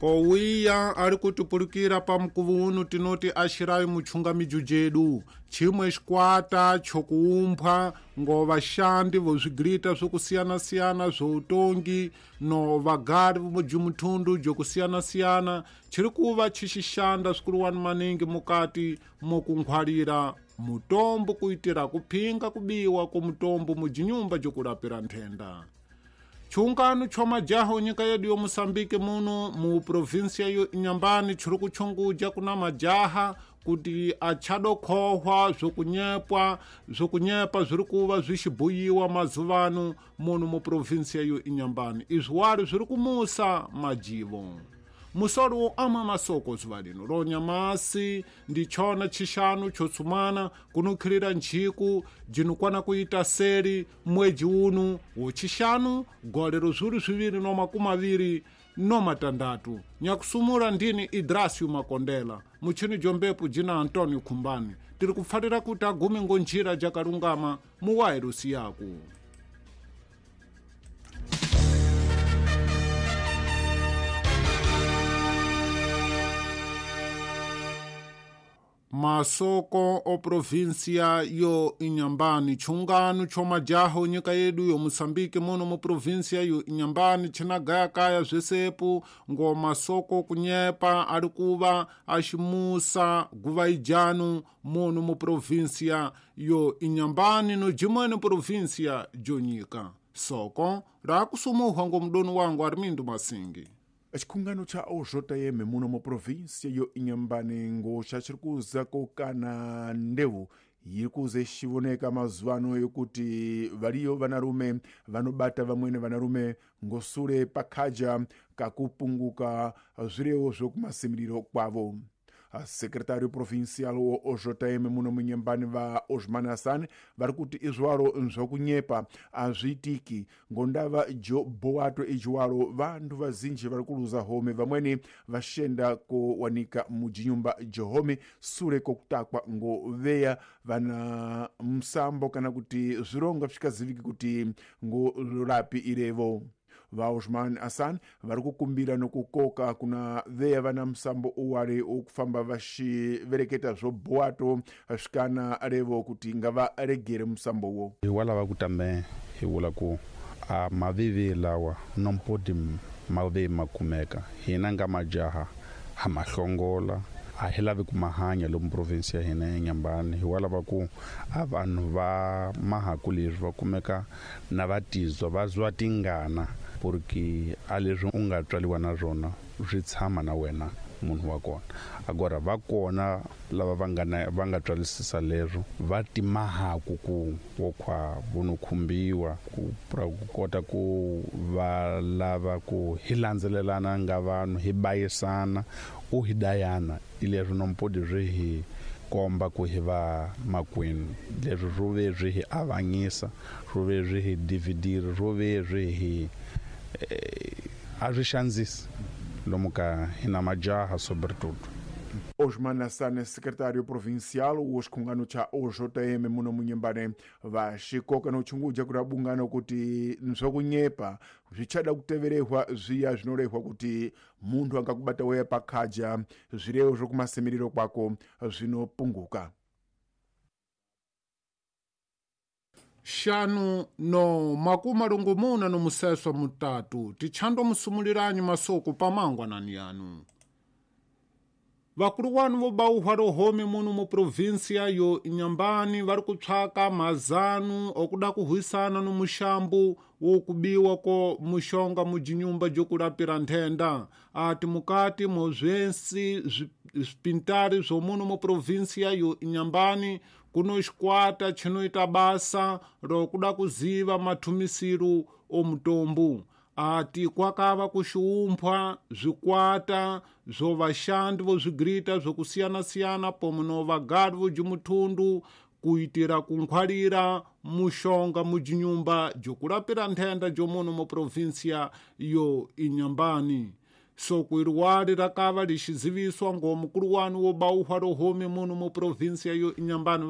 Owiya ali kutipulukira pa mkuvu uno tinoti axirayi mutchunga mijo jedu chimwe xikwata chokuumphwa ngovaxandi voswigirita swokusiyana-siyana swoutongi no vagari vomujumuthundu jokusiyana-siyana chiri kuva chixixanda swikuluwani maningi mukati mokunkhwalira mutombo kuitira kuphinga kubiwa ko mutombo mujinyumba jokulapira nthenda. Chungano cho majaha onyika yedu yo Moçambique muno mu província yo Inhambane chiri kuchunguja kuna majaha kuti achadokhohwa zvokunyepa zviri kuva zvichibuyiwa mazuvano muno mu província yo Inhambane. Izvi wari zviri kumusa majivo. Musoro wo ama masoko zuva lino lonyamasi ndi chona chixanu chotsumana kunukhirira ntchiku jinukwana kuita seli mwedzi unu wochixanu gole rozuri 2026. Nyakusumula ndini Idrasio Makondela, muchini jombepu jina Antonio Khumbani. Tiri kupfatira kuti agume ngonjira jakalungama muwairusi yaku. Masoko o província yo Inhambane, chungano cho majaha onyika yedu yo Moçambique muno mu província yo Inhambane chinagayakaya zvesepo ngo masoko kunyepa ari kuva aximusa guva ijanu muno mu província yo Inhambane no jimweni província jonyika. Soko rakusumuhwa ngo mudoni wangu Armindo Masingi. Xikhungano cha OJM muno mu província yo Inhambane ngoxa xiri kuza kokana ndewu yiri kuze xivoneka mazuvano yokuti variyo vanarume vanobata vamweni vanarume ngosure pakhaja kakupunguka zvirevo zvokumasimiriro kwavo. Secretário provincial wo OJM muno munyembani va Osman Hassan vari kuti izwaro zvokunyepa azviitiki ngondava jo boato ijiwaro vantu vazinji vari kuluza home, vamweni vaxenda kowanika mujinyumba johome sure kokutakwa ngo veya vana musambo kana kuti zvironga zvikaziviki kuti ngo lapi irevo. Va Osman Hassan vari kukumbira nokukoka kuna veya vana musambo uwari okufamba vaxivereketa zvoboato svikana revo kuti ngavaregere musambo wo. Hi wa lava ku tambe hi vula ku a mavivi lawa nompodi mavi ma kumeka hina nga majaha ha mahlongola a hi lavi ku mahanya lomu provinsi ya hina ya Inhambane. Hi wa lava ku a vanhu va mahaku leswi va kumeka na va tizwa va zwa tingana porque a leswi u nga tswaliwa na swona swi tshama na wena munhu wa kona. Agora va kona lava va nga tswalisisa leswo va timahaku ku wo khwa vo khumbiwa ku kota ku va lava ku hi landzelelana nga vanhu hi bayisana u hi dayana ileswi nompodi swi hi komba ku hi va makwenu. Leswi swo ve swi hi avanyisa, swo ve swi hi dividira, swo ve swi hi a swi xandzisi lomu ka hina majaha sobretudo. Osman Hassan, secretário provincial wo xikhungano cha OJM muno munyembane vaxikoka nochunguja kuti abungano kuti zvokunyepa zvichada kuteverehwa zviya zvinorehwa kuti munthu angakubata weya pakhaja zvirevo zvokumasimiriro kwako zvinopunguka. 563 tichando musumuliranyi masoko pamangwanani yanu. Vakulu wanu vobauhwa rohome muno mu província yo Inhambane vari kupsaka mazanu okuda kuhwisana no muxambu wokubiwa ko muxonga mujinyumba jokulapira nthenda. Ati mukati mozwensi zvipintari zvomuno mu província yo Inhambane kuno xikwata chinoita basa rokuda kuziva mathumisiro omutombo. Ati kwakava kuxiumphwa zvikwata zvovaxandi vozvigirita zvokusiyana-siyana pomwe no vagari vojimuthundu kuitira kunkhwalira muxonga mujinyumba jokulapira nthenda jomuno mu província yo Inhambane. Soko iriwali rakava lixiziviswa ngo mukulu wanu wo bauhwa rohome muno mu província yo Inhambane.